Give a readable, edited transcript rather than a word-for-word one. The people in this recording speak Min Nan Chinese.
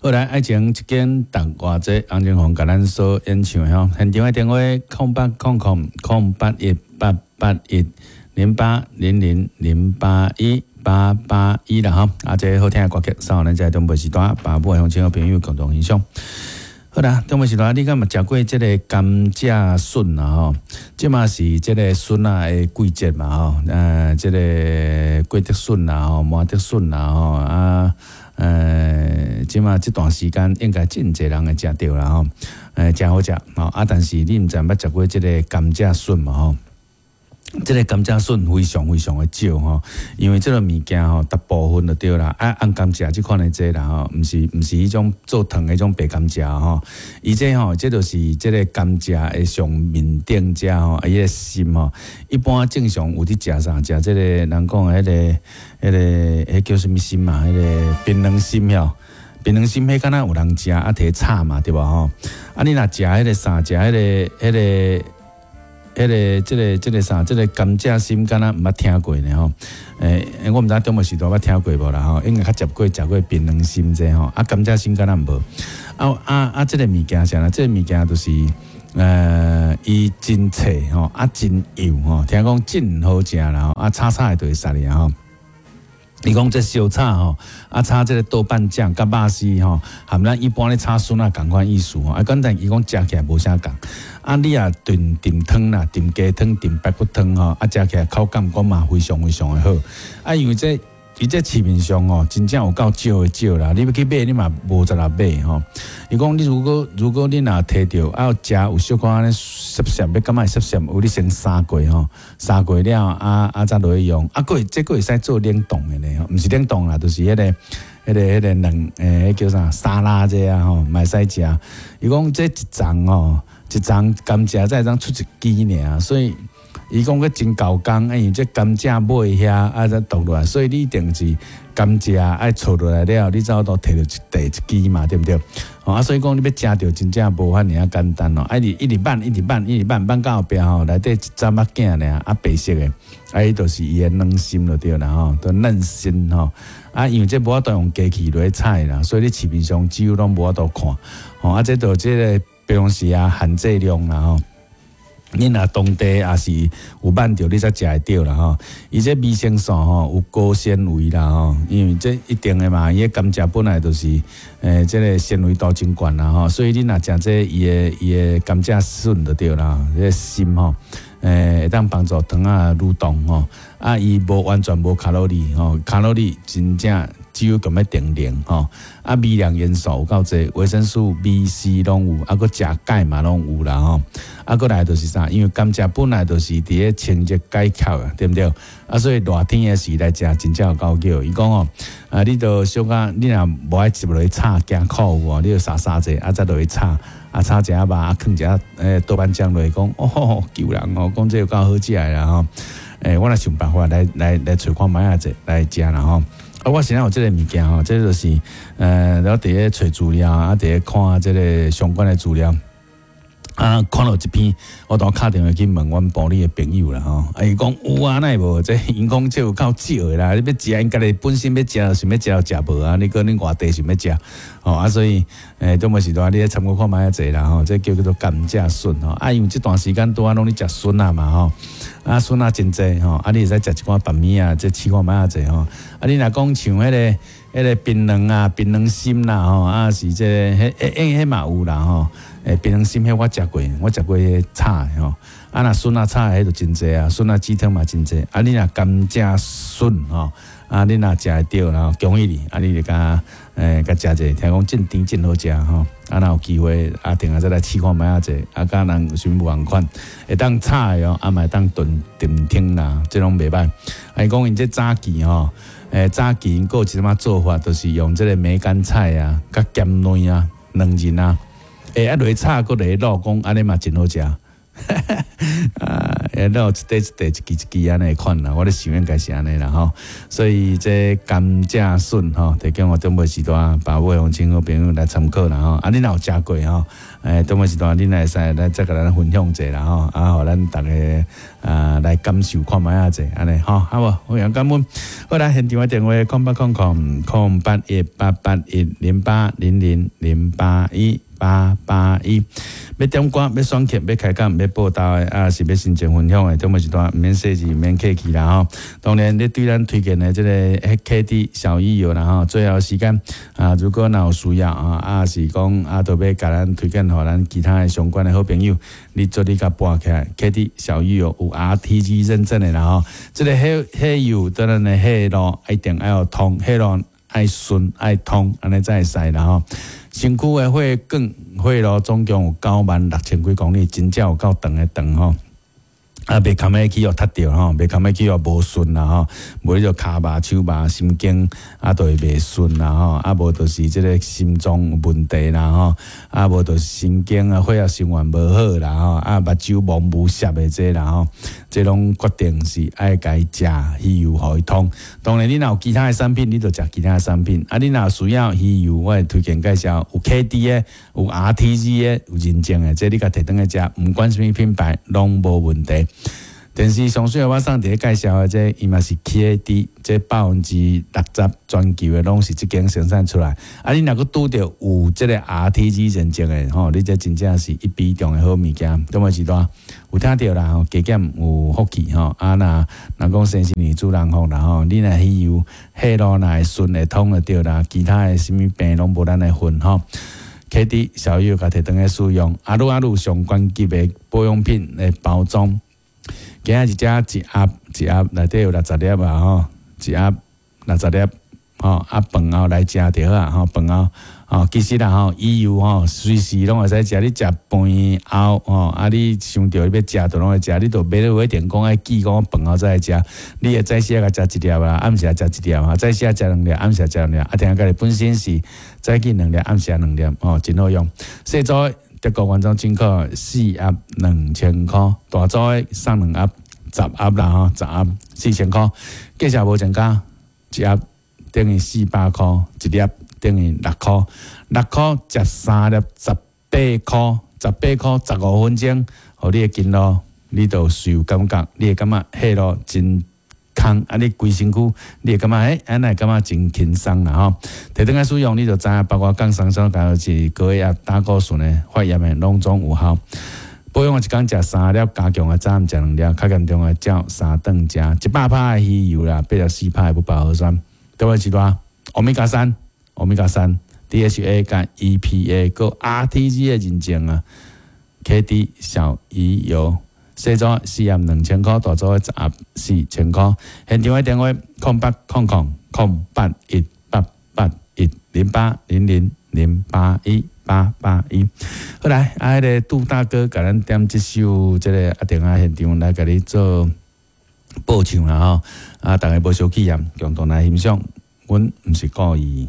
好來，愛情一間逐偌濟，洪靜紅共咱所演唱的吼，現場的電話0800000818810800081881啦吼，啊，這个好聽的歌曲送予咱這個長輩時段，爸母的鄉親好朋友共同欣賞。好啦，長輩時段，你敢有食過這个甘蔗筍啊？吼，這嘛是這个筍仔的季節嘛？吼，這个貴竹筍啊，吼，麻竹筍啊，吼，啊，這嘛這段時間應該真濟人會食著啦，吼，誠好食，吼，啊，但是你毋知捌食過這个甘蔗筍無？吼？這个甘蔗筍非常非常的少吼，因為這个物件吼，大部分就對啦，啊，紅甘蔗這款的這啦吼，毋是彼種做糖的彼種白甘蔗吼，伊這吼，這就是這个甘蔗的上面頂遮吼，伊的心吼，一般正常有佇食啥？食這个人講的彼个、彼个、彼叫啥物心嘛？彼个檳榔心吼。檳榔心彼敢若有人食啊，提炒嘛，對無吼？啊，你若食彼个啥？食彼个、彼个、彼个、這个、這个啥？這个甘蔗心敢若毋捌聽過呢吼？我毋知長輩時代捌聽過無啦吼？應該較食過食過檳榔心這吼，啊，甘蔗心敢若無？啊啊啊！這个物件啥啦？這个物件就是，伊真脆吼，啊，真幼吼，聽講真好食啦吼，啊，炒炒的就會殺哩吼。伊講這燒炒吼，啊炒這个豆瓣醬佮肉絲吼，含咱一般咧炒筍仔仝款意思吼。啊，簡單伊講食起來無啥仝。啊，你若燉燉湯啦，燉雞湯、燉排骨湯吼，啊，食起來口感講嘛非常非常的好。啊，因為這伊這市面上吼，真正有夠少的少啦。你欲去買，你嘛無濟人買吼。伊講你如果你若提著啊食有小可按呢澀澀，欲感覺會澀澀，有你先沙過吼，沙過了啊啊才落去用。啊，閣會這閣會使做冷凍的呢，毋是冷凍啦，就是彼个、彼个、彼个卵，彼叫啥沙拉這啊吼，嘛會使食。伊講這一叢吼，一叢甘蔗才會當出一支爾，所以伊講閣真猴工，因為這甘蔗尾遐啊才剁落來，所以你一定是甘蔗愛搓落來了，你才有法度提著一塊一支嘛，對毋對？啊，所以講你欲食著真正無遐爾仔簡單哦，啊，一直一直挽，一直挽，一直挽，挽到後壁吼，內底一針仔囝爾，啊，白色的，啊，彼就是伊的軟心就對啦吼，都嫩心吼。啊，因為這無法度用機器來採啦，所以你市面上幾乎攏無法度看。吼，啊，這就這个平常時啊限制量啦吼。你若當地也是有挽著，你才食會著啦吼。伊這維生素吼有高纖維啦吼，因為這一定的嘛，伊的甘蔗本來就是這个纖維度真懸啦吼，所以你若食這伊的甘蔗筍就對啦，這个心吼，會當幫助腸仔蠕動吼。啊，伊無完全無卡路里吼，卡路里真正只有咁欲定零吼。啊，微量元素有夠濟，維生素 B、C 攏有，啊，閣食鈣嘛攏有啦吼。啊，閣來就是啥？因為甘蔗本來就是佇咧清熱解渴啊，對毋對？啊，所以熱天的時來食，真正有夠叫。伊講哦，啊，你著小可，你若無愛入落去炒，驚苦有無？你就沙沙者，啊，再落去炒，啊，炒一下肉，啊，囥一下豆瓣醬落去，講哦，救人哦，講這有夠好食的啦吼。我來想辦法來揣看覓仔者來食啦吼。啊，我現在有這个物件吼，這就是我佇咧揣資料，啊，佇咧看這个相關的資料。啊，看到一篇，我當敲電話去問阮埔里的朋友啦吼，啊，伊講有啊，哪會無？這𪜶講這有夠少的啦，你欲食，𪜶家己本身欲食，想欲食就食無啊，你閣恁外地想欲食，吼啊，所以中午時段你咧參考看覓仔濟啦吼，這叫做甘蔗筍吼，啊，因為這段時間拄仔攏咧食筍仔嘛吼，啊，筍仔真濟吼，啊，你會使食一寡白米啊，這試看覓仔濟吼，啊，你若講像彼個檳榔啊、檳榔心啦吼，啊是這個，彼彼彼嘛有啦吼。檳榔心彼我食過，我食過彼炒的吼。啊，若筍仔炒的彼就真濟啊，筍仔雞湯嘛真濟。啊，你若甘蔗筍吼，啊，你若食會著，然後恭喜你，啊，你就共共食者，聽講真甜真好食吼。啊，若有機會啊，定下再來試看覓仔者，啊，佮人有啥物無仝款，會當炒的哦，啊，嘛會當燉燉湯啦，這攏袂䆀。啊，伊講𪜶這早期吼，早期𪜶閣有一點仔做法，就是用這个梅乾菜啊，佮鹹卵啊，卵仁啊，啊落去炒，閣落去滷，講按呢嘛真好食。啊，欸，有一塊一塊一支一支按呢款啦，我咧想應該是按呢啦吼。所以這甘蔗筍吼，提供予長輩時代爸母鄉親好朋友來參考啦吼。啊，你若有食過吼？欸，長輩時代，恁會使來再共咱分享者啦吼，啊，予咱逐家啊來感受看覓仔者，按呢吼，好無？非常感恩。好來，現場的電話0800 008 18810 08008 1881。欲點歌、欲選曲、欲開講、欲報道的，啊是欲心情分享的，長輩時代毋免細緻，毋免客氣啦吼。當然，你對咱推薦的這個 KD 小魚油啦吼，最後時間啊，如果若有需要啊，啊是講啊，都欲共咱推薦予咱其他的相關的好朋友，你做你共撥起來，KD 小魚油有 RTG 認證的啦吼。這個火火油對咱的火路一定愛有通，火路愛順愛通，按呢才會使啦吼。身軀的血管血路總共有96,000幾公里，真正有夠長的長吼。啊，袂堪欲去予塞著吼，袂堪欲去予無順啦吼，無你就跤麻、手麻、心經啊，就會袂順啦吼，啊無就是這個心臟有問題啦吼，啊無就是神經啊血液循環無好啦吼，啊目睭蒙霧澀的這啦吼，這攏決定是愛共伊食魚油予伊通。當然，你若有其他的產品，你就食其他的產品。啊，你若有需要魚油，我會推薦介紹有 KD 的、有 RTG 的、有認證的，這你共提轉去食，毋管啥物品牌攏無問題。電視上水我送佇咧介紹的這，伊嘛是 KD，這60%全球的攏是這間生產出來。啊，你若閣拄著有這個 RTG 認證的吼，你這真正是一比中的好物件。中尾時段有聽著啦吼，加減有福氣吼。啊，若若講生新年主人福啦吼，你若魚油血路若會順會通就對啦，其他的啥物病攏無咱的份吼。KD 小魚共提轉去使用，啊，愈啊愈上懸級的保養品的包裝。今仔日這一盒一盒內底有60粒啊吼，一盒60粒吼，啊飯後來食就好啊吼，飯後吼，其實啦吼，魚油吼隨時攏會使食，你食飯後吼，啊你想著欲食就攏會食，你就袂一定講愛記講飯後才來食，你會早時仔食一粒啦，暗時食一粒啊，早時食兩粒，暗時食兩粒，啊聽家己本身是早起兩粒，暗時兩粒，吼，真好用。細組德國原裝進口四盒2000箍，大組的送兩盒，十盒啦吼，十盒4000箍，價錢無增加，一盒等於400箍，一粒等於六箍，六箍食三粒18箍，18箍15分鐘，予你的筋路，你就有感覺，你會感覺血路真空，啊！你規身軀，你會感覺欸，按呢會感覺真輕鬆啦吼。提轉來使用，你就知影，包括降三酸甘油酯、高血壓、膽固醇的發炎的，攏總有效。保養一工食三粒，加強的早暗食兩粒，較嚴重的照三頓食。100%的魚油啦，84%的不飽和酸。對位是偌？歐米伽三，歐米伽三，DHA 佮 EPA 閣 RTG 的認證啊，KD 小魚油。細組四盒2000箍，大組十盒4000箍。現場的電話：0800 008 1881 080 00 081 881。好來，啊，彼個杜大哥共咱點這首這個阿定仔現場來共你做報唱啦吼。啊，逐家無相氣啊，共同來欣賞。阮毋是故意。